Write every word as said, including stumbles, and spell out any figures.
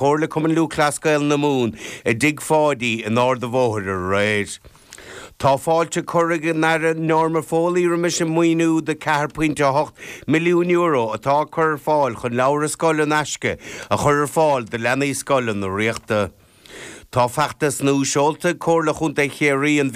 Comhairle Cumann Lúthchleas Gael na Mumhan i dTigh Pháidí in Ard an Bhóthair aréir. Tá fáilte curtha ag an Aire Norma Foley roimis an maoiniú de ceathair pointe a hocht milliún euro atá cur ar fáil chun leabhair scoile in aisce a chur ar fáil do leanaí scoile na Ríochta. Tá feachtas nua seolta Comhairle Chontae Chiarraí an